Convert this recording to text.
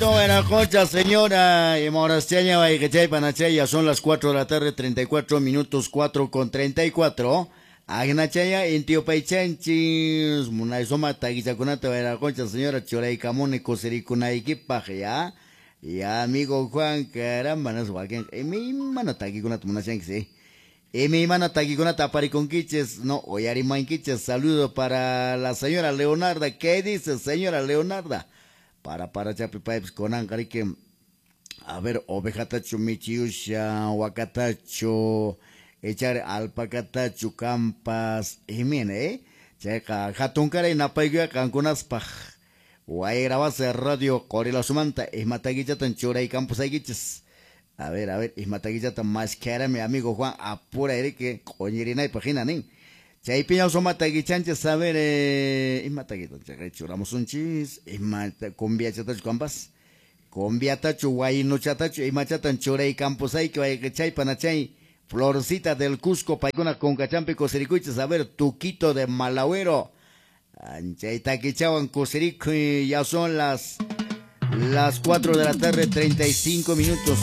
Buena señora. Y Morastiaña Panachaya, son las 4 de la tarde, 34 minutos, 4 con 34. Agnachaya, intiopaychanchis, munaysuma takichakunata Buena señora, churaykamuni kusirikunaykipaq, ya. Ya, amigo Juan, caramba, no wakin, imaymana takikunata munashanki, sí. Imaymana takikunata aparikunkichis, no, uyarimankichis. Saludo para la señora Leonarda. ¿Qué dice, señora Leonarda? Para chapi paypis kunanqa riki, a ver, ovejatachu michiyusha, wakatachu, echar alpacatachu, campas, imina, eh? Chayqa hatunkaray napaykuya qankunaspaq. Wayrawase Radio Qorilasumanta imatakichatan churaykampusaykichis. A ver, imatakichata mashkharami amigo Juan, apura riki q'uñirinaypaq hina nin. Chaypiña sumatakichanchis, a ver, imatakitan churamusunchis, imata cumbiachatachu kampas, cumbiatachu waynuchatachu imachatan churaykampusayki wayqichay panachay, Florcita del Cusco, paykuna kunkachampi kusirikuychis, a ver, Tuquito de Malagüero. Chay takichawan kusirikuy, ya son las 4 de la tarde, 35 minutos.